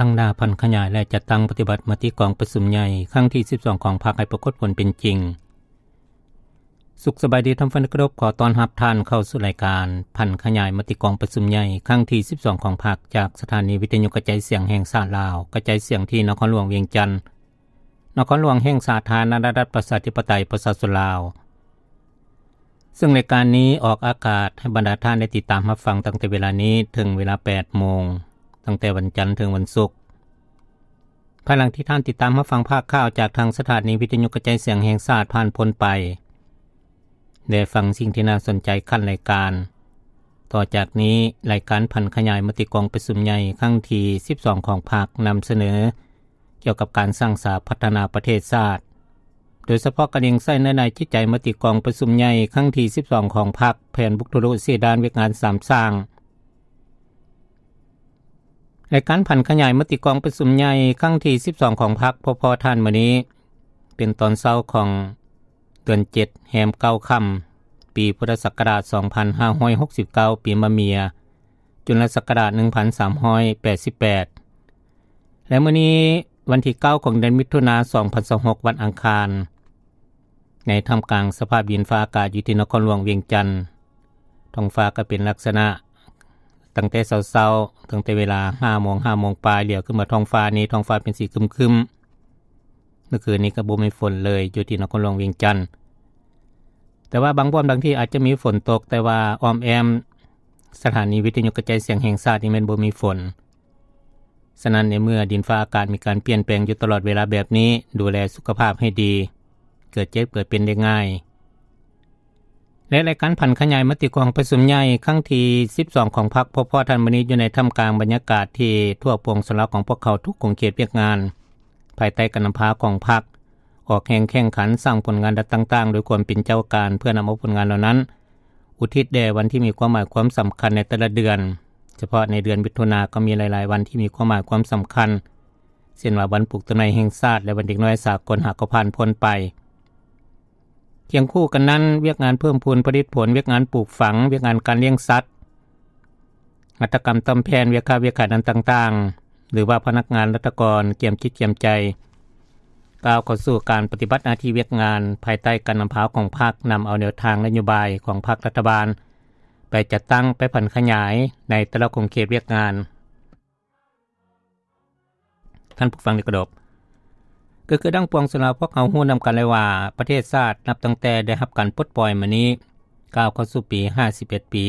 ຕັ້ງໜ້າຜັນຂະຫຍາຍ ແລະ ຈັດຕັ້ງປະຕິບັດມະຕິກອງປະຊຸມໃຫຍ່ຄັ້ງທີສິບສອງຂອງພັກໃຫ້ປາກົດຜົນເປັນຈິງ. ສຸກສະບາຍດີທ່ານຜູ້ຟັງທີ່ເຄົາລົບ, ຂໍຕ້ອນຮັບທ່ານເຂົ້າສູ່ລາຍການຜັນຂະຫຍາຍມະຕິກອງປະຊຸມໃຫຍ່ຄັ້ງທີສິບສອງຂອງພັກ ຈາກສະຖານີວິທະຍຸກະຈາຍສຽງແຫ່ງຊາດລາວ, ກະຈາຍສຽງທີ່ນະຄອນຫຼວງວຽງຈັນ, ນະຄອນຫຼວງແຫ່ງສາທາລະນະລັດ ປະຊາທິປະໄຕ ປະຊາຊົນລາວ. ເຊິ່ງລາຍການນີ້ອອກອາກາດໃຫ້ບັນດາທ່ານໄດ້ຕິດຕາມຮັບຟັງຕັ້ງແຕ່ເວລານີ້ເຖິງເວລາແປດໂມງ, ຕັ້ງແຕ່ວັນຈັນເຖິງວັນສຸກ. ພາຍຫຼັງທີ່ທ່ານຕິດຕາມຮັບຟັງພາກຂ່າວຈາກທາງສະຖານີວິທະຍຸກະຈາຍສຽງແຫ່ງຊາດຜ່ານພົ້ນໄປ ແລະ ຟັງສິ່ງທີ່ໜ້າສົນໃຈຂັ້ນລາຍການ. ຕໍ່ຈາກນີ້, ລາຍການຜັນຂະຫຍາຍມະຕິກອງປະຊຸມໃຫຍ່ຄັ້ງທີສິບສອງຂອງພັກນຳສະເໜີ ກ່ຽວກັບການສ້າງສາພັດທະນາປະເທດຊາດ, ໂດຍສະເພາະກະເລັງໃສ່ເນື້ອໃນຈິດໃຈມະຕິກອງປະຊຸມໃຫຍ່ຄັ້ງທີສິບສອງຂອງພັກ, ແຜນບຸກທະລຸເສດດ້ານວຽກງານສາມສ້າງ. ລາຍການຜັນຂະຫຍາຍມະຕິກອງປະຊຸມໃຫຍ່ຄັ້ງທີສິບສອງຂອງພັກ ພົບພໍ້ທ່ານມື້ນີ້ ເປັນຕອນເຊົ້າຂອງເດືອນເຈັດ ແຮມເກົ້າຄ່ຳ ປີພຸດທະສັກກະລາດສອງພັນຫ້າຮ້ອຍຫົກສິບເກົ້າ ປີມະເມຍ ຈຸນລະສັກກະລາດໜຶ່ງພັນສາມຮ້ອຍແປດສິບແປດ ແລະ ມື້ນີ້ວັນທີເກົ້າຂອງເດືອນມິຖຸນາ ສອງພັນຊາວຫົກ ວັນອັງຄານ. ໃນທ່າມກາງສະພາບດິນຟ້າອາກາດຢູ່ທີ່ນະຄອນຫຼວງວຽງຈັນ, ທ້ອງຟ້າກໍເປັນລັກສະນະ ຕັ້ງແຕ່ເຊົ້າໆ, ຕັ້ງແຕ່ເວລາຫ້າໂມງ, ຫ້າໂມງປາຍ, ຫຼຽວຂຶ້ນມາທ້ອງຟ້ານີ້, ທ້ອງຟ້າເປັນສີຄຶມໆ. ເມື່ອຄືນນີ້ກໍບໍ່ມີຝົນເລີຍຢູ່ທີ່ນະຄອນຫຼວງວຽງຈັນ, ແຕ່ວ່າບາງບ່ອນບາງທີ່ອາດຈະມີຝົນຕົກ, ແຕ່ວ່າອ້ອມແອ້ມສະຖານີວິທະຍຸກະຈາຍສຽງແຫ່ງຊາດນີ້ແມ່ນບໍ່ມີຝົນ. ສະນັ້ນ, ໃນເມື່ອດິນຟ້າອາກາດມີການປ່ຽນແປງຢູ່ຕະຫຼອດເວລາແບບນີ້, ດູແລສຸຂະພາບໃຫ້ດີ, ເກີດເຈັບເກີດເປັນໄດ້ງ່າຍ. ແລະ ລາຍການຜັນຂະຫຍາຍມະຕິກອງປະຊຸມໃຫຍ່ຄັ້ງທີສິບສອງຂອງພັກ ພົບພໍ້ທ່ານມື້ນີ້ ຢູ່ໃນທ່າມກາງບັນຍາກາດທີ່ທົ່ວປວງຊົນລາວຂອງພວກເຮົາທຸກຂົງເຂດວຽກງານ ພາຍໃຕ້ການນຳພາຂອງພັກ ອອກແຮງແຂ່ງຂັນສ້າງຜົນງານດ້ານຕ່າງໆ ດ້ວຍຄວາມເປັນເຈົ້າການ ເພື່ອນຳເອົາຜົນງານເຫຼົ່ານັ້ນ ອຸທິດແດ່ວັນທີ່ມີຄວາມໝາຍຄວາມສຳຄັນໃນແຕ່ລະເດືອນ. ສະເພາະໃນເດືອນມິຖຸນາກໍມີຫຼາຍໆວັນທີ່ມີຄວາມໝາຍຄວາມສຳຄັນ, ເຊັ່ນວ່າວັນປູກຕົ້ນໄມ້ແຫ່ງຊາດ ແລະ ວັນເດັກນ້ອຍສາກົນ ຫາກໍຜ່ານພົ້ນໄປ. ຄຽງຄູ່ກັນນັ້ນ, ວຽກງານເພີ່ມພູນຜະລິດຜົນ, ວຽກງານປູກຝັງ, ວຽກງານການລ້ຽງສັດ, ຫັດຖະກຳຕ່ອມແຜ່ນ, ວຽກຄ້າວຽກຂາຍດ້ານຕ່າງໆ ຫຼືວ່າພະນັກງານລັດຖະກອນກຽມຈິດກຽມໃຈ ກ້າວເຂົ້າສູ່ການປະຕິບັດໜ້າທີ່ວຽກງານ ພາຍໃຕ້ການນຳພາຂອງພັກ, ນຳເອົາແນວທາງນະໂຍບາຍຂອງພັກລັດຖະບານ ໄປຈັດຕັ້ງ, ໄປຜັນຂະຫຍາຍໃນແຕ່ລະຂົງເຂດວຽກງານ. ທ່ານຜູ້ຟັງທີ່ເຄົາລົບ, ກໍຄືດັ່ງປວງຊົນລາວພວກເຮົາຮູ້ນຳກັນແລ້ວວ່າ ປະເທດຊາດນັບຕັ້ງແຕ່ໄດ້ຮັບການປົດປ່ອຍມານີ້ ກ້າວເຂົ້າສູ່ປີຫ້າສິບເອັດປີ.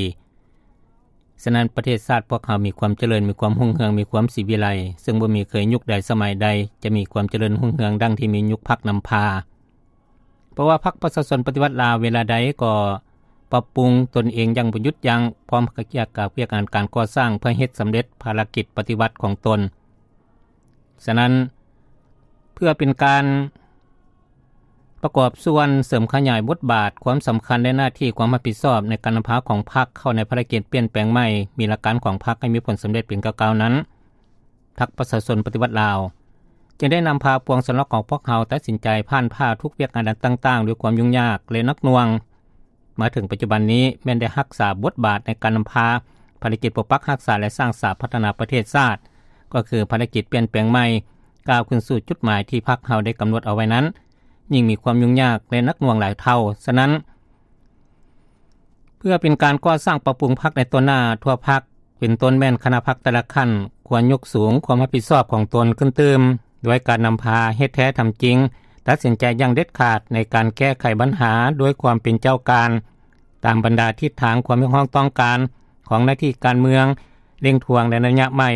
ສະນັ້ນ, ປະເທດຊາດພວກເຮົາມີຄວາມຈະເລີນ, ມີຄວາມຮຸ່ງເຮືອງ, ມີຄວາມສີວິໄລ, ເຊິ່ງບໍ່ມີເຄີຍຍຸກໃດສະໄໝໃດຈະມີຄວາມຈະເລີນຮຸ່ງເຮືອງດັ່ງທີ່ມີຍຸກພັກນຳພາ. ເພາະວ່າພັກປະຊາຊົນປະຕິວັດລາວເວລາໃດກໍປັບປຸງຕົນເອງຢ່າງບໍ່ຢຸດຢັ້ງ, ພ້ອມກັບວຽກງານການກໍ່ສ້າງເພື່ອເຮັດສຳເລັດພາລະກິດປະຕິວັດຂອງຕົນ. ສະນັ້ນ, ເພື່ອເປັນການປະກອບສ່ວນເສີມຂະຫຍາຍບົດບາດ, ຄວາມສຳຄັນ ແລະ ໜ້າທີ່ຄວາມຮັບຜິດຊອບໃນການນຳພາຂອງພັກເຂົ້າໃນພາລະກິດປ່ຽນແປງໃໝ່, ມີຫຼັກການຂອງພັກໃຫ້ມີຜົນສຳເລັດເປັນກ້າວໆນັ້ນ, ພັກປະຊາຊົນປະຕິວັດລາວ ຈຶ່ງໄດ້ນຳພາປວງຊົນລາວຂອງພວກເຮົາຕັດສິນໃຈຜ່ານຜ່າທຸກວຽກງານດ້ານຕ່າງໆ ດ້ວຍຄວາມຫຍຸ້ງຍາກ ແລະ ໜັກໜ່ວງ. ມາເຖິງປັດຈຸບັນນີ້ ແມ່ນໄດ້ຮັກສາບົດບາດໃນການນຳພາພາລະກິດປົກປັກຮັກສາ ແລະ ສ້າງສາພັດທະນາປະເທດຊາດ, ກໍຄືພາລະກິດປ່ຽນແປງໃໝ່, ກ້າວຂຶ້ນສູ່ຈຸດໝາຍທີ່ພັກເຮົາໄດ້ກຳນົດເອົາໄວ້ນັ້ນ ຍິ່ງມີຄວາມຫຍຸ້ງຍາກ ແລະ ໜັກໜ່ວງຫຼາຍເທົ່າ. ສະນັ້ນ, ເພື່ອເປັນການກໍ່ສ້າງປັບປຸງພັກໃນຕໍ່ໜ້າທົ່ວພັກ, ເປັນຕົ້ນແມ່ນຄະນະພັກແຕ່ລະຂັ້ນ ຄວນຍົກສູງຄວາມຮັບຜິດຊອບຂອງຕົນຂຶ້ນຕື່ມ, ດ້ວຍການນຳພາເຮັດແທ້ທຳຈິງ, ຕັດສິນໃຈຢ່າງເດັດຂາດໃນການແກ້ໄຂບັນຫາດ້ວຍຄວາມເປັນເຈົ້າການ, ຕາມບັນດາທິດທາງຄວາມຮຽກຮ້ອງຕ້ອງການຂອງໜ້າທີ່ການເມືອງ, ເລັ່ງທວງໃນໄລຍະໃໝ່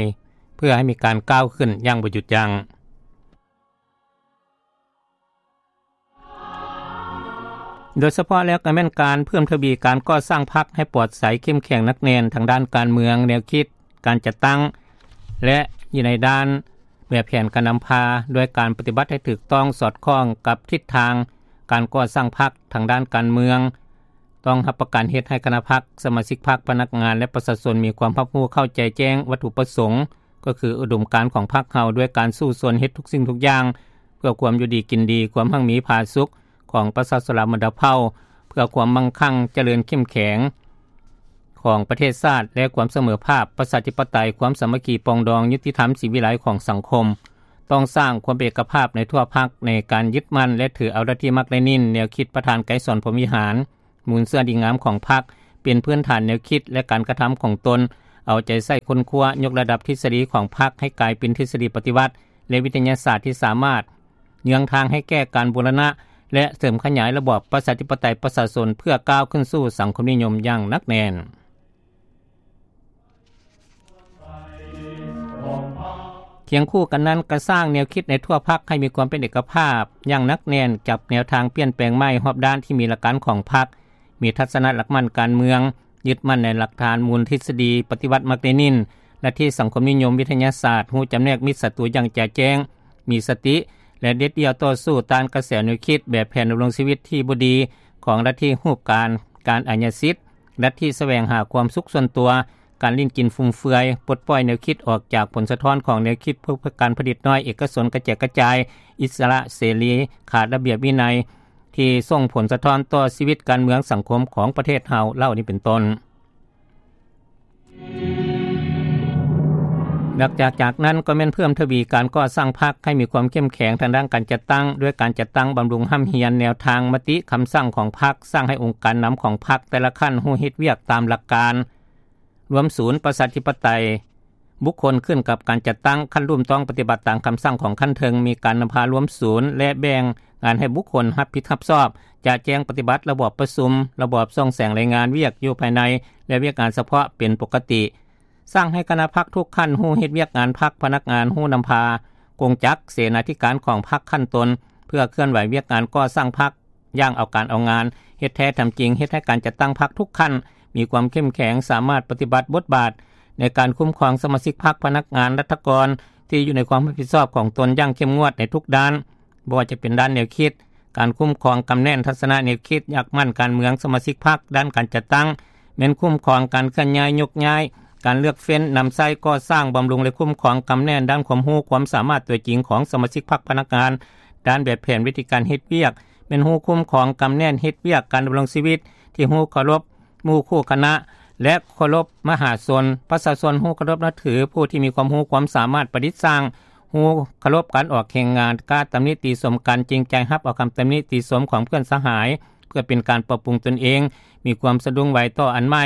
ເພື່ອໃຫ້ມີການກ້າວຂຶ້ນຢ່າງບໍ່ຢຸດຢັ້ງ. ໂດຍສະເພາະແລ້ວກໍແມ່ນການເພີ່ມທະວີການກໍ່ສ້າງພັກໃຫ້ປອດໃສ, ເຂັ້ມແຂງ, ໜັກແໜ້ນທາງດ້ານການເມືອງ, ແນວຄິດ, ການຈັດຕັ້ງ ແລະ ຢູ່ໃນດ້ານແບບແຜນການນຳພາ, ດ້ວຍການປະຕິບັດໃຫ້ຖືກຕ້ອງສອດຄ່ອງກັບທິດທາງການກໍ່ສ້າງພັກທາງດ້ານການເມືອງ. ຕ້ອງຮັບປະກັນເຮັດໃຫ້ຄະນະພັກ, ສະມາຊິກພັກ, ພະນັກງານ ແລະ ປະຊາຊົນມີຄວາມຮັບຮູ້ເຂົ້າໃຈແຈ້ງວັດຖຸປະສົງ, ກໍຄືອຸດົມການຂອງພັກເຮົາ ດ້ວຍການສູ້ຊົນເຮັດທຸກສິ່ງທຸກຢ່າງ ເພື່ອຄວາມຢູ່ດີກິນດີ, ຄວາມຮັ່ງມີຜາສຸກຂອງປະຊາຊົນລາວບັນດາເຜົ່າ, ເພື່ອຄວາມມັ່ງຄັ່ງຈະເລີນເຂັ້ມແຂງ ຂອງປະເທດຊາດ ແລະ ຄວາມສະເໝີພາບ, ປະຊາທິປະໄຕ, ຄວາມສາມັກຄີປອງດອງ, ຍຸຕິທຳ, ສີວິໄລຂອງສັງຄົມ. ຕ້ອງສ້າງຄວາມເປັນເອກະພາບໃນທົ່ວພັກໃນການຍຶດໝັ້ນ ແລະ ຖືເອົາລັດທິມາກເລນິນ, ແນວຄິດປະທານໄກສອນ ພົມວິຫານ, ມູນເຊື້ອດີງາມຂອງພັກ ເປັນພື້ນຖານແນວຄິດ ແລະ ການກະທຳຂອງຕົນ, ເອົາໃຈໃສ່ຄົ້ນຄວ້າ ຍົກລະດັບທິດສະດີຂອງພັກໃຫ້ກາຍເປັນທິດສະດີປະຕິວັດ ແລະ ວິທະຍາສາດທີ່ສາມາດເຍືອງທາງໃຫ້ແກ່ການບູລະນະ ແລະ ເສີມຂະຫຍາຍລະບອບປະຊາທິປະໄຕປະຊາຊົນ ເພື່ອກ້າວຂຶ້ນສູ່ສັງຄົມນິຍົມຢ່າງໜັກແໜ້ນ. ຄຽງຄູ່ກັນນັ້ນ, ກະສ້າງແນວຄິດໃນທົ່ວພັກໃຫ້ມີຄວາມເປັນເອກະພາບຢ່າງໜັກແໜ້ນ ຈັບແນວທາງປ່ຽນແປງໃໝ່ຮອບດ້ານທີ່ມີຫຼັກການຂອງພັກ, ມີທັດສະນະຫຼັກໝັ້ນການເມືອງ, ຍຶດໝັ້ນໃນຫຼັກຖານມູນທິດສະດີປະຕິວັດມາກເລນິນ, ລັດທິສັງຄົມນິຍົມ, ວິທະຍາສາດ, ຮູ້ຈຳແນກມິດສັດຕູຢ່າງຈະແຈ້ງ, ມີສະຕິ ແລະ ເດັດດ່ຽວຕໍ່ສູ້ຕ້ານກະແສແນວຄິດແບບແຜນດຳລົງຊີວິດທີ່ບໍ່ດີຂອງລັດທິຮູບການ, ການອາຍາສິດ, ລັດທິສະແຫວງຫາຄວາມສຸກສ່ວນຕົວ, ການຫຼິ້ນກິນຟຸມເຟືອຍ, ປົດປ່ອຍແນວຄິດອອກຈາກຜົນສະທ້ອນຂອງແນວຄິດເພື່ອການຜະລິດນ້ອຍ, ເອກະຊົນ, ກະແຈກກະຈາຍ, ອິດສະຫຼະເສລີ, ຂາດລະບຽບວິໄນ ທີ່ສົ່ງຜົນສະທ້ອນຕໍ່ຊີວິດການເມືອງສັງຄົມຂອງປະເທດເຮົາເຫຼົ່ານີ້ເປັນຕົ້ນ. ນອກຈາກ ຈາກນັ້ນກໍແມ່ນເພີ່ມທະວີການກໍ່ສ້າງພັກໃຫ້ມີຄວາມເຂັ້ມແຂງທາງດ້ານການຈັດຕັ້ງ, ດ້ວຍການຈັດຕັ້ງບຳລຸງຮ່ຳຮຽນແນວທາງມະຕິຄຳສັ່ງຂອງພັກ, ສ້າງໃຫ້ອົງການນຳຂອງພັກແຕ່ລະຂັ້ນຮູ້ເຮັດວຽກຕາມຫຼັກການ ລວມສູນປະຊາທິປະໄຕ, ບຸກຄົນຂຶ້ນກັບການຈັດຕັ້ງ, ຂັ້ນລຸ່ມຕ້ອງປະຕິບັດຕາມຄຳສັ່ງຂອງຂັ້ນເທິງ, ມີການນຳພາລວມສູນ ແລະ ແບ່ງງານໃຫ້ບຸກຄົນຮັບຜິດຮັບຊອບ, ຈະແຈ້ງປະຕິບັດລະບອບປະຊຸມ, ລະບອບສ່ອງແສງລາຍງານວຽກຢູ່ພາຍໃນ ແລະ ວຽກງານສະເພາະເປັນປົກກະຕິ. ສ້າງໃຫ້ຄະນະພັກທຸກຂັ້ນຮູ້ເຮັດວຽກງານພັກ, ພະນັກງານຮູ້ນຳພາ, ກົງຈັກ, ເສນາທິການຂອງພັກຂັ້ນຕົ້ນ ເພື່ອເຄື່ອນໄຫວວຽກງານກໍ່ສ້າງພັກ ຢ່າງເອົາການເອົາງານ, ເຮັດແທ້ທຳຈິງ, ເຮັດໃຫ້ການຈັດຕັ້ງພັກທຸກຂັ້ນມີຄວາມເຂັ້ມແຂງ, ສາມາດປະຕິບັດບົດບາດໃນການຄຸ້ມຄອງສະມາຊິກພັກ, ພະນັກງານ, ລັດຖະກອນ ທີ່ຢູ່ໃນຄວາມຮັບຜິດຊອບຂອງຕົນຢ່າງເຂັ້ມງວດໃນທຸກດ້ານ, ບໍ່ວ່າຈະເປັນດ້ານແນວຄິດ, ການຄຸ້ມຄອງ, ກຳແໜ້ນ, ທັດສະນະແນວຄິດ, ຫຼັກໝັ້ນການເມືອງ, ສະມາຊິກພັກ, ດ້ານການຈັດຕັ້ງ, ແມ່ນຄຸ້ມຄອງ, ການເຄື່ອນຍ້າຍ, ຍົກຍ້າຍ, ການເລືອກເຟ້ນ, ນຳໃຊ້, ກໍ່ສ້າງ, ບຳລຸງ ແລະ ຄຸ້ມຄອງ, ກຳແໜ້ນດ້ານຄວາມຮູ້ຄວາມສາມາດຕົວຈິງຂອງສະມາຊິກພັກ, ພະນັກງານ, ດ້ານແບບແຜນວິທີການເຮັດວຽກ, ແມ່ນຮູ້ຄຸ້ມຄອງ, ກຳແໜ້ນເຮັດວຽກການດຳລົງຊີວິດທີ່ຮູ້ເຄົາລົບໝູ່ຄູ່ຄະນະ ແລະ ເຄົາລົບມະຫາຊົນ, ປະຊາຊົນຮູ້ເຄົາລົບນັບຖືຜູ້ທີ່ມີຄວາມຮູ້ຄວາມສາມາດປະດິດສ້າງ, ຮູ້ເຄົາລົບການອອກແຮງງານ, ກ້າຕຳໜິຕິຊົມກັນ, ຈິງໃຈຮັບເອົາຄຳຕຳໜິຕິຊົມຂອງເພື່ອນສະຫາຍ ເພື່ອເປັນການປັບປຸງຕົນເອງ, ມີຄວາມສະດຸ້ງໄວຕໍ່ອັນໃໝ່,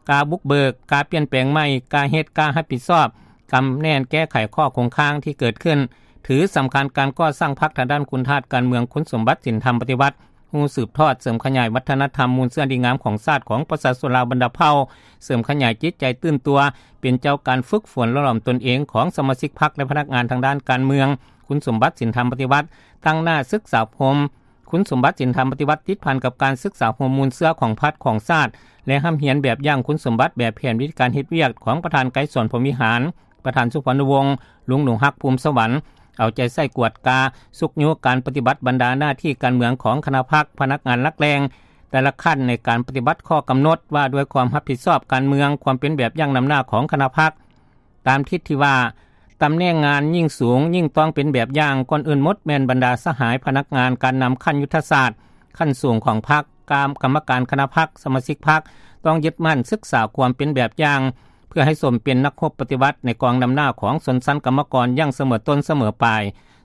ກ້າບຸກເບີກ, ກ້າປ່ຽນແປງໃໝ່, ກ້າເຮັດ, ກ້າຮັບຜິດຊອບ, ກຳແໜ້ນແກ້ໄຂຂໍ້ຄົງຄ້າງທີ່ເກີດຂຶ້ນ, ຖືສຳຄັນການກໍ່ສ້າງພັກທາງດ້ານຄຸນທາດການເມືອງ, ຄຸນສົມບັດສິນທຳປະຕິວັດ, ຮູ້ສືບທອດ, ເສີມຂະຫຍາຍວັດທະນະທຳມູນເຊື້ອດີງາມຂອງຊາດຂອງປະຊາຊົນລາວບັນດາເຜົ່າ, ເສີມຂະຫຍາຍຈິດໃຈຕື່ນຕົວ, ເປັນເຈົ້າການຝຶກຝົນຫຼໍ່ຫຼອມຕົນເອງຂອງສະມາຊິກພັກ ແລະ ພະນັກງານທາງດ້ານການເມືອງ, ຄຸນສົມບັດສິນທຳປະຕິວັດ, ຕັ້ງໜ້າສຶກສາອົບຮົມ, ຄຸນສົມບັດສິນທຳປະຕິວັດ ຕິດພັນກັບການສຶກສາອົບຮົມມູນເຊື້ອຂອງພັກຂອງຊາດ ແລະ ຮ່ຳຮຽນແບບຢ່າງຄຸນສົມບັດແບບແຜນວິທີການເຮັດວຽກຂອງປະທານໄກສອນ ພົມວິຫານ, ປະທານສຸພອນວົງ, ລຸງໜູຮັກ ພູມສະຫວັນ, ເອົາໃຈໃສ່ກວດກາ, ຊຸກຍູ້ການປະຕິບັດບັນດາໜ້າທີ່ການເມືອງຂອງຄະນະພັກ, ພະນັກງານຫຼັກແຫຼ່ງແຕ່ລະຂັ້ນໃນການປະຕິບັດຂໍ້ກຳນົດວ່າດ້ວຍຄວາມຮັບຜິດຊອບການເມືອງ, ຄວາມເປັນແບບຢ່າງນຳໜ້າຂອງຄະນະພັກ. ຕາມທິດທີ່ວ່າ ຕຳແໜ່ງງານຍິ່ງສູງ, ຍິ່ງຕ້ອງເປັນແບບຢ່າງ, ກ່ອນອື່ນໝົດແມ່ນບັນດາສະຫາຍພະນັກງານການນຳຂັ້ນຍຸດທະສາດຂັ້ນສູງຂອງພັກ, ກາມ ກຳມະການຄະນະພັກ, ສະມາຊິກພັກ ຕ້ອງຍຶດໝັ້ນສຶກສາຄວາມເປັນແບບຢ່າງ ເພື່ອໃຫ້ສົມເປັນນັກຮົບປະຕິວັດໃນກອງນຳໜ້າຂອງຊົນຊັ້ນກຳມະກອນຢ່າງສະເໝີຕົ້ນສະເໝີປາຍ,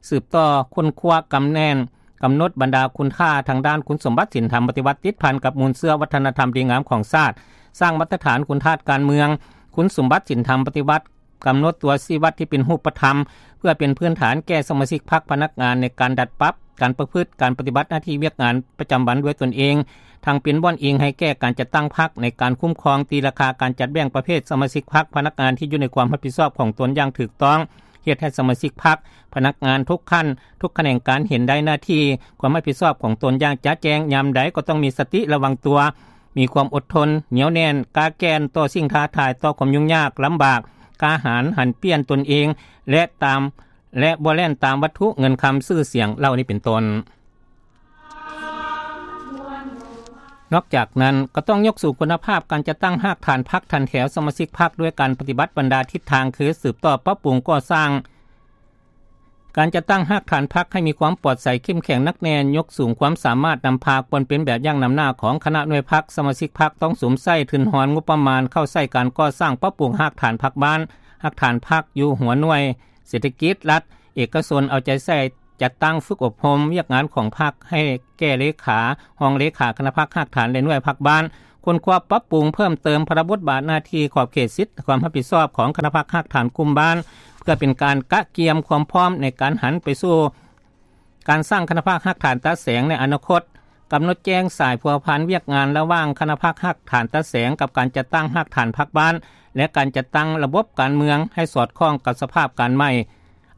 ສືບຕໍ່ຄົ້ນຄວ້າກຳແໜ້ນ ກຳນົດບັນດາຄຸນຄ່າທາງດ້ານຄຸນສົມບັດສິນທຳປະຕິວັດ ຕິດພັນກັບມູນເຊື້ອວັດທະນະທຳດີງາມຂອງຊາດ, ສ້າງມາດຕະຖານຄຸນທາດການເມືອງ, ຄຸນສົມບັດສິນທຳປະຕິວັດ, ກຳນົດຕົວຊີ້ວັດທີ່ເປັນຮູບປະທຳ ເພື່ອເປັນພື້ນຖານແກ່ສະມາຊິກພັກພະນັກງານໃນການດັດປັບການປະພຶດ, ການປະຕິບັດໜ້າທີ່ວຽກງານປະຈຳວັນດ້ວຍຕົນເອງ, ທັງເປັນບ່ອນອີງໃຫ້ແກ່ການຈັດຕັ້ງພັກໃນການຄຸ້ມຄອງຕີລາຄາການຈັດແບ່ງປະເພດສະມາຊິກພັກພະນັກງານທີ່ຢູ່ໃນຄວາມຮັບຜິດຊອບຂອງຕົນຢ່າງຖືກຕ້ອງ, ເຮັດໃຫ້ສະມາຊິກພັກ, ພະນັກງານທຸກຂັ້ນ, ທຸກຂະແໜງການເຫັນໄດ້ໜ້າທີ່, ຄວາມຮັບຜິດຊອບຂອງຕົນຢ່າງຈະແຈ້ງ, ຍາມໃດກໍຕ້ອງມີສະຕິລະວັງຕົວ, ມີຄວາມອົດທົນ, ໜຽວແໜ້ນ, ກ້າແກ່ນຕໍ່ສິ່ງທ້າທາຍ, ຕໍ່ຄວາມຫຍຸ້ງຍາກລຳບາກ, ກ້າຫານຫັນປ່ຽນຕົນເອງ ແລະ ຕາມ ແລະ ບໍ່ແລ່ນຕາມວັດຖຸເງິນຄຳຊື່ສຽງເຫຼົ່ານີ້ເປັນຕົ້ນ. ນອກຈາກນັ້ນ ກໍຕ້ອງຍົກສູງຄຸນນະພາບການຈັດຕັ້ງຮາກຖານພັກ, ຖັນແຖວສະມາຊິກພັກ ດ້ວຍການປະຕິບັດບັນດາທິດທາງ ຄື ສືບຕໍ່ປັບປຸງກໍ່ສ້າງ ການຈັດຕັ້ງຮາກຖານພັກໃຫ້ມີຄວາມປອດໃສເຂັ້ມແຂງໜັກແໜ້ນ, ຍົກສູງຄວາມສາມາດນຳພາ, ຄວນເປັນແບບຢ່າງນຳໜ້າຂອງຄະນະໜ່ວຍພັກ, ສະມາຊິກພັກຕ້ອງສຸມໃຊ້ທຶນຮອນງົບປະມານເຂົ້າໃຊ້ການກໍ່ສ້າງປັບປຸງຮາກຖານພັກບ້ານ, ຮາກຖານພັກຢູ່ຫົວໜ່ວຍເສດຖະກິດລັດ, ເອກະຊົນເອົາໃຈໃສ່ຈັດຕັ້ງຝຶກອົບຮົມວຽກງານຂອງພັກໃຫ້ແກ່ເລຂາ, ຮອງເລຂາຄະນະພັກຮາກຖານ ແລະ ໜ່ວຍພັກບ້ານ, ຄົ້ນຄວ້າປັບປຸງເພີ່ມເຕີມພາລະບົດບາດໜ້າທີ່ຂອບເຂດສິດຄວາມຮັບຜິດຊອບຂອງຄະນະພັກຮາກຖານກຸ່ມບ້ານ ເພື່ອເປັນການກະກຽມຄວາມພ້ອມໃນການຫັນໄປສູ່ການສ້າງຄະນະພັກຮາກຖານຕາແສງໃນອະນາຄົດ, ກຳນົດແຈ້ງສາຍພົວພັນວຽກງານລະຫວ່າງຄະນະພັກຮາກຖານຕາແສງກັບການຈັດຕັ້ງຮາກຖານພັກບ້ານ ແລະ ການຈັດຕັ້ງລະບົບການເມືອງໃຫ້ສອດຄ່ອງກັບສະພາບການໃໝ່.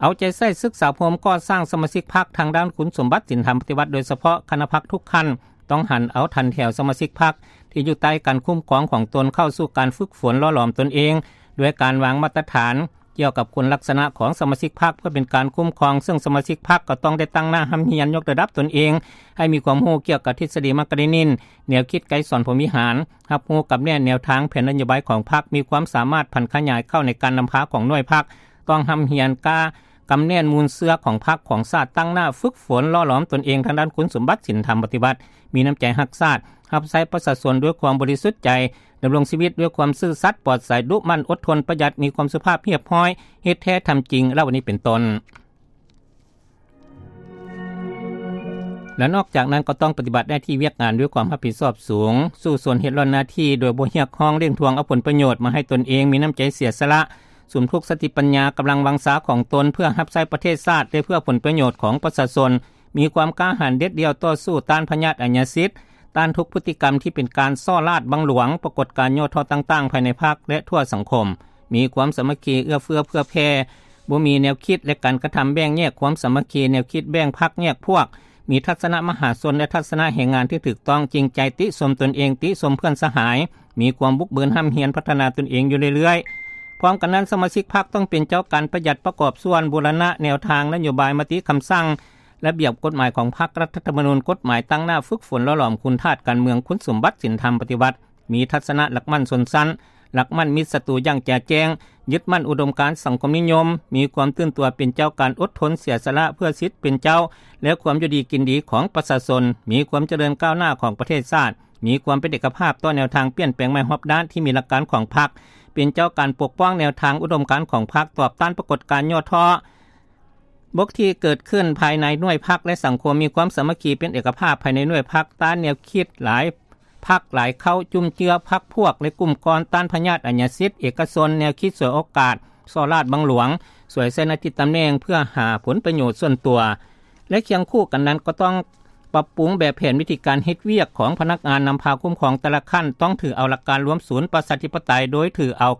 ເອົາໃຈໃສ່ສຶກສາອົບຮົມກໍ່ສ້າງສະມາຊິກພັກທາງດ້ານຄຸນສົມບັດສິນທຳປະຕິວັດ, ໂດຍສະເພາະຄະນະພັກທຸກຂັ້ນ ຕ້ອງຫັນເອົາຖັນແຖວສະມາຊິກພັກທີ່ຢູ່ໃຕ້ການຄຸ້ມຄອງຂອງຕົນເຂົ້າສູ່ການຝຶກຝົນຫຼໍ່ຫຼອມຕົນເອງ ດ້ວຍການວາງມາດຕະຖານກ່ຽວກັບຄຸນລັກສະນະຂອງສະມາຊິກພັກ ເພື່ອເປັນການຄຸ້ມຄອງ, ເຊິ່ງສະມາຊິກພັກກໍຕ້ອງໄດ້ຕັ້ງໜ້າຮ່ຳຮຽນຍົກລະດັບຕົນເອງໃຫ້ມີຄວາມຮູ້ກ່ຽວກັບທິດສະດີມາກກາເຣນິນ, ແນວຄິດໄກສອນພົມວິຫານ, ຮັບຮູ້ກັບແນວທາງແຜນນະໂຍບາຍຂອງພັກ, ມີຄວາມສາມາດຜັນຂະຫຍາຍເຂົ້າໃນການນຳພາຂອງໜ່ວຍພັກ, ຕ້ອງຮ່ຳຮຽນກ້າ ກຳແໜ້ນມູນເຊື້ອຂອງພັກຂອງຊາດ, ຕັ້ງໜ້າຝຶກຝົນຫຼໍ່ຫຼອມຕົນເອງທາງດ້ານຄຸນສົມບັດສິນທຳປະຕິວັດ, ມີນ້ຳໃຈຮັກຊາດ, ຮັບໃຊ້ປະຊາຊົນດ້ວຍຄວາມບໍລິສຸດໃຈ, ດຳລົງຊີວິດດ້ວຍຄວາມຊື່ສັດ, ປອດໃສ, ດຸໝັ່ນ, ອົດທົນ, ປະຢັດ, ມີຄວາມສຸພາບຮຽບຮ້ອຍ, ເຮັດແທ້ທຳຈິງ ແລ້ວອັນນີ້ເປັນຕົ້ນ. ແລະ ນອກຈາກນັ້ນກໍຕ້ອງປະຕິບັດໜ້າທີ່ວຽກງານດ້ວຍຄວາມຮັບຜິດຊອບສູງ, ສູ້ຊົນເຮັດລ້ອນໜ້າທີ່ໂດຍບໍ່ຮຽກຮ້ອງ, ເລັ່ງທວງເອົາຜົນປະໂຫຍດມາໃຫ້ຕົນເອງ, ມີນ້ຳໃຈເສຍສະຫຼະ, ສຸມທຸກສະຕິປັນຍາ, ກຳລັງວັງຊາຂອງຕົນເພື່ອຮັບໃຊ້ປະເທດຊາດ ແລະ ເພື່ອຜົນປະໂຫຍດຂອງປະຊາຊົນ, ມີຄວາມກ້າຫານເດັດດ່ຽວຕໍ່ສູ້ຕ້ານພະຍາດອາຍາສິດ, ຕ້ານທຸກພຶດຕິກຳທີ່ເປັນການສໍ້ລາດບັງຫຼວງ, ປາກົດການຫຍໍ້ທໍ້ຕ່າງໆ ພາຍໃນພັກ ແລະ ທົ່ວສັງຄົມ, ມີຄວາມສາມັກຄີເອື້ອເຟື້ອເຜື່ອແຜ່, ບໍ່ມີແນວຄິດ ແລະ ການກະທຳແບ່ງແຍກຄວາມສາມັກຄີ, ແນວຄິດແບ່ງພັກແຍກພວກ, ມີທັດສະນະມະຫາຊົນ ແລະ ທັດສະນະແຮງງານທີ່ຖືກຕ້ອງ, ຈິງໃຈຕິຊົມຕົນເອງ, ຕິຊົມເພື່ອນສະຫາຍ, ມີຄວາມບຸກບືນ, ຮ່ຳຮຽນ, ພັດທະນາຕົນເອງຢູ່ເລື້ອຍໆ. ພ້ອມກັນນັ້ນ, ສະມາຊິກພັກຕ້ອງເປັນເຈົ້າການປະຢັດ, ປະກອບສ່ວນ, ບູລະນະແນວທາງ, ນະໂຍບາຍ, ມະຕິຄຳສັ່ງ, ລະບຽບກົດໝາຍຂອງພັກ, ລັດຖະທຳມະນູນ, ກົດໝາຍ, ຕັ້ງໜ້າຝຶກຝົນຫຼໍ່ຫຼອມຄຸນທາດການເມືອງ, ຄຸນສົມບັດສິນທຳປະຕິວັດ, ມີທັດສະນະຫຼັກໝັ້ນຊົນຊັ້ນ, ຫຼັກໝັ້ນມິດສັດຕູຢ່າງແຈ່ແຈ້ງ, ຍຶດໝັ້ນອຸດົມການສັງຄົມນິຍົມ, ມີຄວາມຕື່ນຕົວເປັນເຈົ້າການ, ອົດທົນເສຍສະຫຼະເພື່ອສິດເປັນເຈົ້າ ແລະ ຄວາມຢູ່ດີກິນດີຂອງປະຊາຊົນ, ມີຄວາມຈະເລີນກ້າວໜ້າຂອງປະເທດຊາດ, ມີຄວາມເປັນເອກະພາບຕໍ່ແນວທາງປ່ຽນແປງໃໝ່ຮອບດ້ານທີ່ມີຫຼັກການຂອງພັກ, ເປັນເຈົ້າການປົກປ້ອງແນວທາງອຸດົມການຂອງພັກ, ຕອບຕ້ານປາກົດການຫຍໍ້ທໍ້ ບົກທີ່ເກີດຂຶ້ນພາຍໃນໜ່ວຍພັກ ແລະ ສັງຄົມ, ມີຄວາມສາມັກຄີເປັນເອກະພາບພາຍໃນໜ່ວຍພັກ, ຕ້ານແນວຄິດຫຼາຍພັກຫຼາຍເຄົ້າ, ຈຸ້ມເຈືອພັກພວກ ແລະ ກຸ່ມກ້ອນ, ຕ້ານພະຍາດອາຍາສິດເອກະຊົນ, ແນວຄິດສວຍໂອກາດ, ສໍ້ລາດບັງຫຼວງ, ສວຍໃສ່ໜ້າທີ່ຕຳແໜ່ງເພື່ອຫາຜົນປະໂຫຍດສ່ວນຕົວ ແລະ ຄຽງຄູ່ກັນນັ້ນກໍຕ້ອງປັບປຸງແບບແຜນວິທີການເຮັດວຽກຂອງພະນັກງານນຳພາຄຸ້ມຄອງແຕ່ລະຂັ້ນ, ຕ້ອງຖືເອົາຫຼັກການລວມສູນປະຊາທິປະໄຕ ໂດຍຖືເອົາ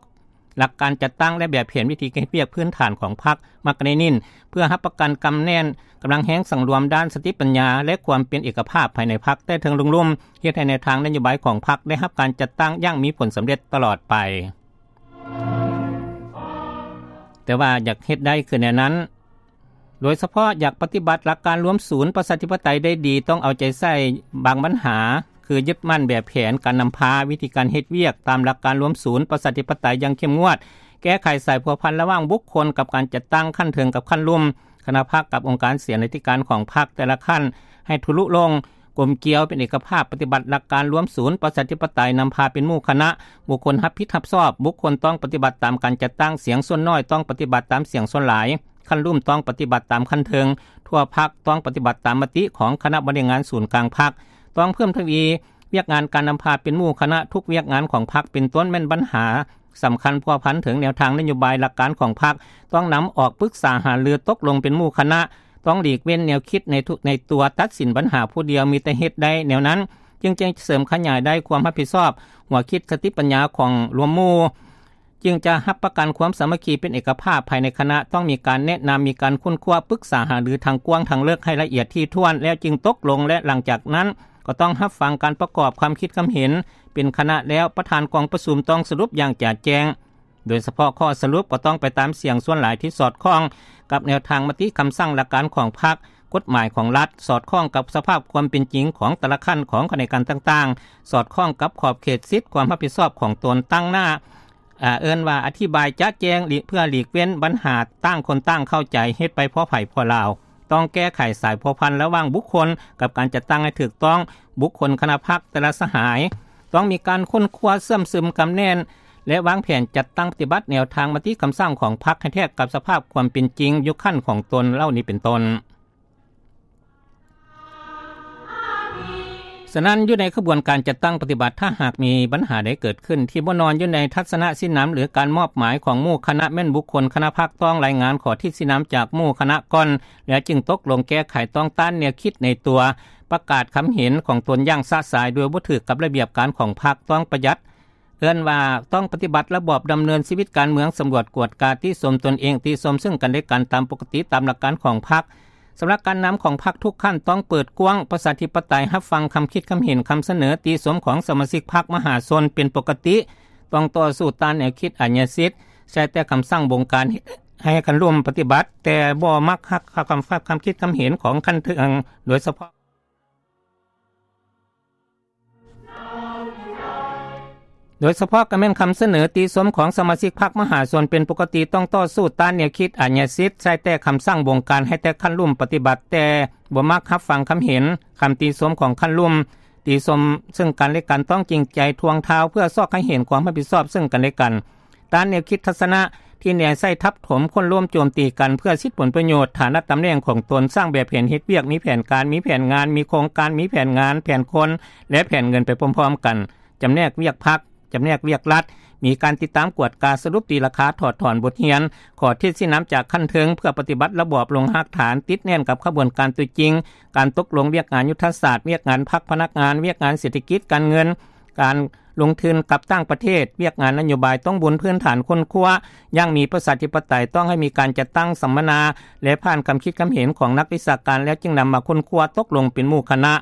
ຫຼັກການຈັດຕັ້ງ ແລະ ແບບແຜນວິທີການເຮັດວຽກພື້ນຖານຂອງພັກມາກກາເຣນິນ ເພື່ອຮັບປະກັນກຳແໜ້ນກຳລັງແຮງສັງລວມດ້ານສະຕິປັນຍາ ແລະ ຄວາມເປັນເອກະພາບພາຍໃນພັກແຕ່ເທິງລົງລຸ່ມ, ເຮັດໃຫ້ແນວທາງນະໂຍບາຍຂອງພັກໄດ້ຮັບການຈັດຕັ້ງຢ່າງມີຜົນສຳເລັດຕະຫຼອດໄປ. ແຕ່ວ່າຢາກເຮັດໄດ້ຄືແນວນັ້ນ, ໂດຍສະເພາະຢາກປະຕິບັດຫຼັກການລວມສູນປະຊາທິປະໄຕໄດ້ດີ, ຕ້ອງເອົາໃຈໃສ່ບາງບັນຫາ ຄືຍຶດໝັ້ນແບບແຜນການນຳພາ, ວິທີການເຮັດວຽກຕາມຫຼັກການລວມສູນປະຊາທິປະໄຕຢ່າງເຂັ້ມງວດ, ແກ້ໄຂສາຍພົວພັນລະຫວ່າງບຸກຄົນກັບການຈັດຕັ້ງຂັ້ນເທິງກັບຂັ້ນລຸ່ມ, ຄະນະພັກກັບອົງການເສນາທິການຂອງພັກແຕ່ລະຂັ້ນໃຫ້ທະລຸລົງ, ກົມກຽວເປັນເອກະພາບ, ປະຕິບັດຫຼັກການລວມສູນປະຊາທິປະໄຕ, ນຳພາເປັນໝູ່ຄະນະ, ບຸກຄົນຮັບຜິດຮັບຊອບ, ບຸກຄົນຕ້ອງປະຕິບັດຕາມການຈັດຕັ້ງ, ສຽງສ່ວນໜ້ອຍຕ້ອງປະຕິບັດຕາມສຽງສ່ວນຫຼາຍ, ຂັ້ນລຸ່ມຕ້ອງປະຕິບັດຕາມຂັ້ນເທິງ, ທົ່ວພັກຕ້ອງປະຕິບັດຕາມມະຕິຂອງຄະນະບໍລິຫານງານສູນກາງພັກ, ຕ້ອງເພີ່ມທະວີວຽກງານການນຳພາເປັນໝູ່ຄະນະ, ທຸກວຽກງານຂອງພັກ ເປັນຕົ້ນແມ່ນບັນຫາສຳຄັນພົວພັນເຖິງແນວທາງນະໂຍບາຍຫຼັກການຂອງພັກ, ຕ້ອງນຳອອກປຶກສາຫາລືຕົກລົງເປັນໝູ່ຄະນະ, ຕ້ອງຫຼີກເວັ້ນແນວຄິດໃນທຸ ໃນຕົວຕັດສິນບັນຫາຜູ້ດຽວ, ມີແຕ່ເຮັດໄດ້ແນວນັ້ນ ຈຶ່ງຈະເສີມຂະຫຍາຍໄດ້ຄວາມຮັບຜິດຊອບ, ຫົວຄິດສະຕິປັນຍາຂອງລວມໝູ່ ຈຶ່ງຈະຮັບປະກັນຄວາມສາມັກຄີເປັນເອກະພາບພາຍໃນຄະນະ, ຕ້ອງມີການແນະນຳ, ມີການຄົ້ນຄວ້າ, ປຶກສາຫາລືທັງກວ້າງທັງເລິກໃຫ້ລະອຽດຖີ່ຖ້ວນ ແລ້ວຈຶ່ງຕົກລົງ ແລະ ຫຼັງຈາກນັ້ນກໍຕ້ອງຮັບຟັງການປະກອບຄວາມຄິດຄວາມເຫັນເປັນຄະນະແລ້ວ, ປະທານກອງປະຊຸມຕ້ອງສະຫຼຸບຢ່າງຈະແຈ້ງ, ໂດຍສະເພາະຂໍ້ສະຫຼຸບກໍຕ້ອງໄປຕາມສຽງສ່ວນຫຼາຍທີ່ສອດຄ່ອງກັບແນວທາງມະຕິຄຳສັ່ງຫຼັກການຂອງພັກ, ກົດໝາຍຂອງລັດ, ສອດຄ່ອງກັບສະພາບຄວາມເປັນຈິງຂອງແຕ່ລະຂັ້ນຂອງຂະແໜງການຕ່າງໆ, ສອດຄ່ອງກັບຂອບເຂດສິດຄວາມຮັບຜິດຊອບຂອງຕົນ, ຕັ້ງໜ້າ ເອີ້ນວ່າອະທິບາຍຈະແຈ້ງ ເພື່ອຫຼີກເວັ້ນບັນຫາຕ່າງຄົນຕ່າງເຂົ້າໃຈ ເຮັດໄປພໍໃຜພໍລາວ. ຕ້ອງແກ້ໄຂສາຍພົວພັນລະຫວ່າງບຸກຄົນກັບການຈັດຕັ້ງໃຫ້ຖືກຕ້ອງ, ບຸກຄົນ, ຄະນະພັກແຕ່ລະສະຫາຍ ຕ້ອງມີການຄົ້ນຄວ້າເຊື່ອມຊຶມກຳແໜ້ນ ແລະ ວາງແຜນຈັດຕັ້ງປະຕິບັດແນວທາງມະຕິຄຳສັ່ງຂອງພັກໃຫ້ແທກກັບສະພາບຄວາມເປັນຈິງຢູ່ຂັ້ນຂອງຕົນເຫຼົ່ານີ້ເປັນຕົ້ນ. ສະນັ້ນ ຢູ່ໃນຂະບວນການຈັດຕັ້ງປະຕິບັດ ຖ້າຫາກມີບັນຫາໃດເກີດຂຶ້ນທີ່ບໍ່ນອນຢູ່ໃນທັດສະນະຊີ້ນຳ ຫຼື ການມອບໝາຍຂອງໝູ່ຄະນະ ແມ່ນບຸກຄົນຄະນະພັກຕ້ອງລາຍງານຂໍ້ທິດຊີ້ນຳຈາກໝູ່ຄະນະກ່ອນ ແລ້ວຈຶ່ງຕົກລົງແກ້ໄຂ ຕ້ອງຕ້ານແນວຄິດໃນຕົວ ປະກາດຄຳເຫັນຂອງຕົນຢ່າງຊະຊາຍ ໂດຍບໍ່ຖືກກັບລະບຽບການຂອງພັກ, ຕ້ອງປະຢັດ ເອີ້ນວ່າຕ້ອງປະຕິບັດລະບອບດຳເນີນຊີວິດການເມືອງ, ສຳຫຼວດກວດກາ, ຕິຊົມຕົນເອງ, ຕິຊົມເຊິ່ງກັນແລະກັນຕາມປົກກະຕິຕາມຫຼັກການຂອງພັກ. ສຳລັບການນຳຂອງພັກທຸກຂັ້ນຕ້ອງເປີດກວ້າງ, ປະຊາທິປະໄຕ, ຮັບຟັງຄຳຄິດຄຳເຫັນ, ຄຳສະເໜີ, ຕິຊົມຂອງສະມາຊິກພັກມະຫາຊົນເປັນປົກກະຕິ, ຕ້ອງຕໍ່ສູ້ຕ້ານແນວຄິດອາຍາສິດ, ໃຊ້ແຕ່ຄຳສັ່ງບົງການໃຫ້ຂັ້ນລຸ່ມປະຕິບັດ, ແຕ່ບໍ່ມັກຮັບຄຳ ຄຳຄິດຄຳເຫັນຂອງຂັ້ນເທິງ, ໂດຍສະເພາະ ໂດຍສະເພາະກໍແມ່ນຄຳສະເໜີຕິຊົມຂອງສະມາຊິກພັກມະຫາຊົນເປັນປົກກະຕິ, ຕ້ອງຕໍ່ສູ້ຕ້ານແນວຄິດອາຍາສິດ, ໃຊ້ແຕ່ຄຳສັ່ງບົງການໃຫ້ແຕ່ຂັ້ນລຸ່ມປະຕິບັດ, ແຕ່ບໍ່ມັກຮັບຟັງຄຳເຫັນ, ຄຳຕິຊົມຂອງຂັ້ນລຸ່ມ, ຕິຊົມເຊິ່ງກັນແລະກັນ, ຕ້ອງຈິງໃຈທວງທາວເພື່ອຊອກໃຫ້ເຫັນຄວາມຮັບຜິດຊອບເຊິ່ງກັນແລະກັນ. ຕ້ານແນວຄິດທັດສະນະທີ່ແນໃສ່ທັບຖົມໂຄ່ນລົ້ມໂຈມຕີກັນເພື່ອສິດຜົນປະໂຫຍດ, ຖານະຕຳແໜ່ງຂອງຕົນ, ສ້າງແບບເຫັນເຮັດວຽກ, ມີແຜນການ, ມີແຜນງານ, ມີໂຄງການ, ມີແຜນງານ, ແຜນຄົນ ແລະ ແຜນເງິນໄປພ້ອມໆກັນ, ຈຳແນກວຽກພັກ, ຈຳແນກວຽກລັດ, ມີການຕິດຕາມກວດກາ, ສະຫຼຸບຕີລາຄາ, ຖອດຖອນບົດຮຽນ, ຂໍທິດຊີ້ນຳຈາກຂັ້ນເທິງເພື່ອປະຕິບັດລະບອບລົງຮາກຖານ, ຕິດແໜ້ນກັບຂະບວນການຕົວຈິງ, ການຕົກລົງວຽກງານຍຸດທະສາດ, ວຽກງານພັກພະນັກງານ, ວຽກງານເສດຖະກິດການເງິນ, ການ ລົງທຶນກັບຕ່າງປະເທດ, ວຽກງານນະໂຍບາຍ, ຕ້ອງບົນພື້ນຖານຄົ້ນຄວ້າຢ່າງມີປະຊາທິປະໄຕ, ຕ້ອງໃຫ້ມີການຈັດຕັ້ງສຳມະນາ ແລະ ຜ່ານຄຳຄິດຄຳເຫັນຂອງນັກວິຊາການ ແລ້ວຈຶ່ງນຳມາຄົ້ນຄວ້າຕົກລົງເປັນໝູ່ຄະນະ.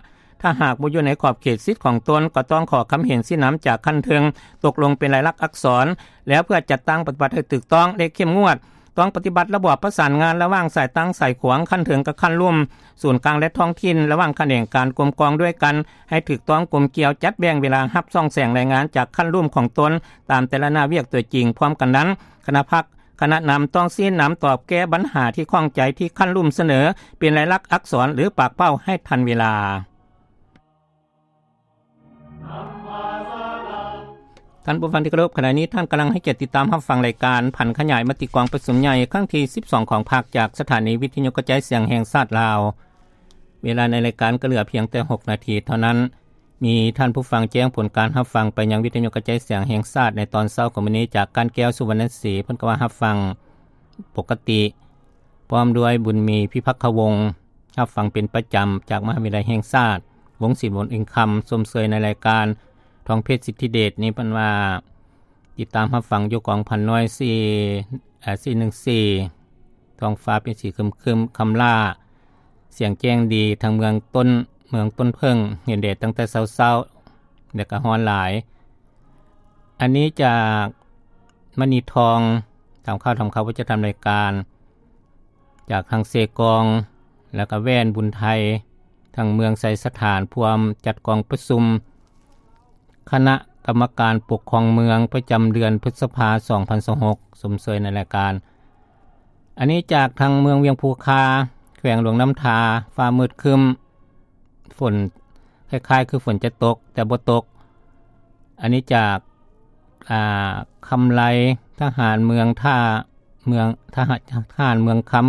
ຖ້າຫາກບໍ່ຢູ່ໃນຂອບເຂດສິດຂອງຕົນ, ກໍຕ້ອງຂໍຄຳເຫັນຊີ້ນຳຈາກຂັ້ນເທິງ, ຕົກລົງເປັນລາຍລັກອັກສອນ, ແລ້ວເພື່ອຈັດຕັ້ງປະຕິບັດໃຫ້ຖືກຕ້ອງ ແລະ ເຂັ້ມງວດ. ຕ້ອງປະຕິບັດລະບອບປະສານງານລະຫວ່າງສາຍຕັ້ງສາຍຂວາງ, ຂັ້ນເທິງກັບຂັ້ນລຸ່ມ, ສູນກາງ ແລະ ທ້ອງຖິ່ນ, ລະຫວ່າງຂະແໜງການກົມກອງດ້ວຍກັນ ໃຫ້ຖືກຕ້ອງກົມກ່ຽວ, ຈັດແບ່ງເວລາຮັບຊ່ອງແສງລາຍງານຈາກຂັ້ນລຸ່ມຂອງຕົນຕາມແຕ່ລະໜ້າວຽກຕົວຈິງ. ພ້ອມກັນນັ້ນ, ຄະນະພັກ, ຄະນະນຳຕ້ອງຊີ້ນຳຕອບແກ້ບັນຫາທີ່ຂ້ອງໃຈທີ່ຂັ້ນລຸ່ມສະເໜີເປັນລາຍລັກອັກສອນ ຫຼື ປາກເປົ້າໃຫ້ທັນເວລາ. ທ່ານຜູ້ຟັງທີ່ເຄົາລົບ, ຂະນະນີ້ທ່ານກຳລັງໃຫ້ກຽດຕິດຕາມຮັບຟັງລາຍການຜັນຂະຫຍາຍມະຕິກອງປະຊຸມໃຫຍ່ຄັ້ງທີສິບສອງຂອງພັກ ຈາກສະຖານີວິທະຍຸກະຈາຍສຽງແຫ່ງຊາດລາວ. ເວລາໃນລາຍການກໍເຫຼືອພຽງແຕ່ຫົກນາທີເທົ່ານັ້ນ. ມີທ່ານຜູ້ຟັງແຈ້ງຜົນການຮັບຟັງໄປຍັງວິທະຍຸກະຈາຍສຽງແຫ່ງຊາດໃນຕອນເຊົ້າຂອງມື້ນີ້ ຈາກ ກ້ານແກ້ວ ສຸວັນນະສີ, ເພິ່ນກໍວ່າຮັບຟັງປົກກະຕິ. ພ້ອມດ້ວຍ ບຸນມີ ພິພັກຄະວົງ, ຮັບຟັງເປັນປະຈຳຈາກມະຫາວິທະຍາໄລແຫ່ງຊາດ, ວົງສິນ ວົງອິນຄຳ, ຊົມເຊີຍໃນລາຍການ ທອງເພັດ ສິດທິເດດ. ນີ້ເພິ່ນວ່າຕິດຕາມຮັບຟັງຢູ່ກອງພັນໜ່ວຍ ສີ່ ເອີ ສີ່ໜຶ່ງສີ່, ທ້ອງຟ້າເປັນສີຄຶມໆ ຄຳຫຼ້າ, ສຽງແຈ້ງດີ ທັງເມືອງຕົ້ນ ເມືອງຕົ້ນເຜິ້ງ, ເຫັນແດດຕັ້ງແຕ່ເຊົ້າໆ ແລະ ກໍຮ້ອນຫຼາຍ. ອັນນີ້ຈາກມະນີທອງ, ຕາມຂ່າວທຳຂ່າວປະຈຳລາຍການ, ຈາກທາງເຊກອງ ແລ້ວກະແວ່ນບຸນໄທ, ທາງເມືອງໄຊສະຖານ ພວມຈັດກອງປະຊຸມຄະນະກຳມະການປົກຄອງເມືອງປະຈຳເດືອນພຶດສະພາ ສອງພັນຊາວຫົກ, ຊົມເຊີຍໃນລາຍການ. ອັນນີ້ຈາກທາງເມືອງວຽງພູຄາ, ແຂວງຫຼວງນ້ຳທາ, ຟ້າມືດຄຶ້ມ, ຝົນ ຄ້າຍໆຄືຝົນຈະຕົກ ແຕ່ບໍ່ຕົກ. ອັນນີ້ຈາກ ອ່າ ຄຳໄລ, ທະຫານເມືອງທ່າ ເມືອງ ທະຫານ ທະຫານເມືອງຄຳ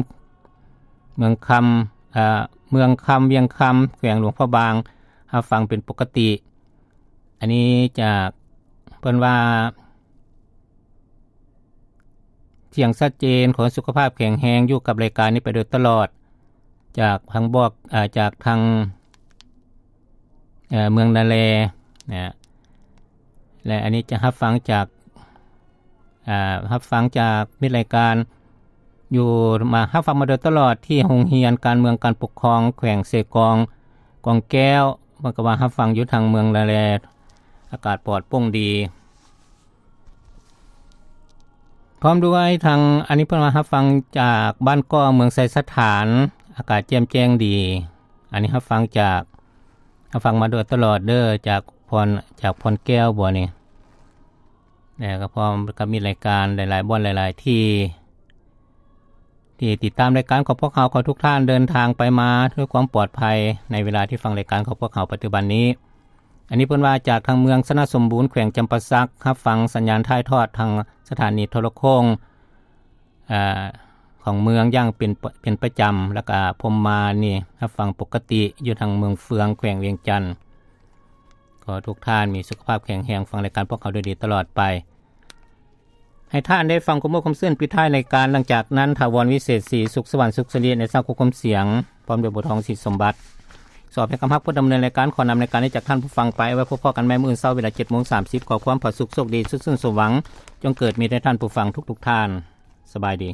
ເມືອງຄຳ ເອີ ເມືອງຄຳ ວຽງຄຳ ແຂວງຫຼວງພະບາງ ຮັບຟັງເປັນປົກກະຕິ. ອັນນີ້ຈາກ ເພິ່ນວ່າ ສຽງຊັດເຈນ, ຂໍໃຫ້ສຸຂະພາບແຂງແຮງ, ຢູ່ກັບລາຍການນີ້ໄປໂດຍຕະຫຼອດ. ຈາກທາງບອກ ເອີ ຈາກທາງ ເອີ ເມືອງນາແລນະ ແລະ ອັນນີ້ຈະຮັບຟັງຈາກ ເອີ ຮັບຟັງຈາກມິດລາຍການ ຢູ່ມາ ຮັບຟັງມາໂດຍຕະຫຼອດທີ່ໂຮງຮຽນການເມືອງການປົກຄອງແຂວງເຊກອງ ກອງແກ້ວ. ເພິ່ນກໍວ່າຮັບຟັງຢູ່ທາງເມືອງນາແລ ອາກາດປອດໂປ່ງດີ. ພ້ອມດ້ວຍທາງ ອັນນີ້ເພິ່ນວ່າຮັບຟັງຈາກບ້ານກໍ ເມືອງໄຊສະຖານ ອາກາດແຈ່ມແຈ້ງດີ. ອັນນີ້ຮັບຟັງຈາກ ຮັບຟັງມາໂດຍຕະຫຼອດເດີ ຈາກພອນ ຈາກພອນແກ້ວບໍນີ້? ແລະກໍພ້ອມກັບມີລາຍການຫຼາຍໆບ່ອນຫຼາຍໆທີ່ ທີ່ຕິດຕາມລາຍການຂອງພວກເຮົາ. ຂໍໃຫ້ທຸກທ່ານເດີນທາງໄປມາດ້ວຍຄວາມປອດໄພ ໃນເວລາທີ່ຟັງລາຍການຂອງພວກເຮົາປັດຈຸບັນນີ້. ອັນນີ້ເພິ່ນວ່າຈາກທາງເມືອງຊະນະສົມບູນ ແຂວງຈຳປາສັກ ຮັບຟັງສັນຍານຖ່າຍທອດທາງສະຖານີໂທລະໂຄ່ງ ອາ ຂອງເມືອງຢ່າງເປັນ ເປັນປະຈຳ ແລ້ວກະພົມມານີ້ຮັບຟັງປົກກະຕິຢູ່ທາງເມືອງເຟືອງ ແຂວງວຽງຈັນ. ຂໍໃຫ້ທຸກທ່ານມີສຸຂະພາບແຂງແຮງ ຟັງລາຍການພວກເຮົາດ້ວຍດີຕະຫຼອດໄປ. ໃຫ້ທ່ານໄດ້ຟັງຄວາມມ່ວນຄວາມຊື່ນປິດທ້າຍລາຍການ. ຫຼັງຈາກນັ້ນ ຖາວອນ ວິເສດສີ ສຸກສະຫວັນ ສຸກສະລິ ໃນສາວຄວບຄຸມສຽງ ພ້ອມດ້ວຍບົວທອງ ສີສົມບັດ ສອບໃຫ້ຄຳຮັກ ຜູ້ດຳເນີນລາຍການ ຂໍນຳລາຍການນີ້ຈາກທ່ານຜູ້ຟັງໄປ. ໄວ້ພົບພໍ້ກັນໃໝ່ມື້ອື່ນເຊົ້າເວລາເຈັດໂມງສາມສິບ. ຂໍຄວາມຜາສຸກໂຊກດີ ສຸກຊື່ນສົມຫວັງ ຈົ່ງເກີດມີແດ່ທ່ານຜູ້ຟັງທຸກໆທ່ານ. ສະບາຍດີ.